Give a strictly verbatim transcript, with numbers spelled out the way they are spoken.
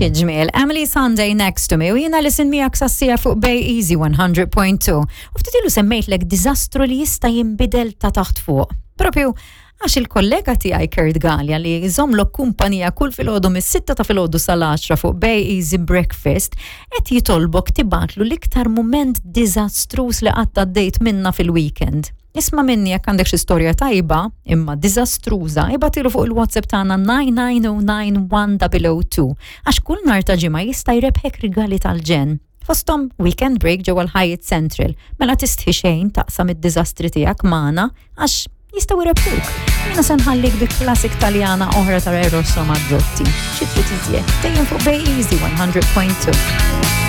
Xi ġmiel, Emeli Sandé, "Next to Me", u jiena Alison miegħek sas-siegħa fuq Bay Easy one hundred point two. U ftit ilu semmejtlek diżastru li jista' jinbidel ta' taħt fuq. Propju għax il-kollega tiegħi Kurt Galea, li jżommlok kumpanija kull filgħodu mis-sitta ta' filgħodu sal-għaxra fuq Bay Easy Breakfast, qed jitolbok tibgħatlu l-iktar mument diżastruż li qatt għaddejt minna fil-weekend. Isma' minni, jekk għandek xi storja tajba, imma diżastruża, ibgħathielu fuq il-WhatsApp tagħna nine nine zero nine one zero zero two, għax kull nhar ta' Ġimgħa jista' jrebħek rigali tal-ġenn. Fosthom weekend break ġewwa l-Hyatt Central. Mela tistħi xejn taqsam id-diżastri tiegħek magħna, għax jistgħu jrebħuk. Jiena se nħallik bi classic Taljana oħra ta' Eros Ramazzotti. Xi trid iżjed? Dejjem fuq Bay Easy one hundred point two.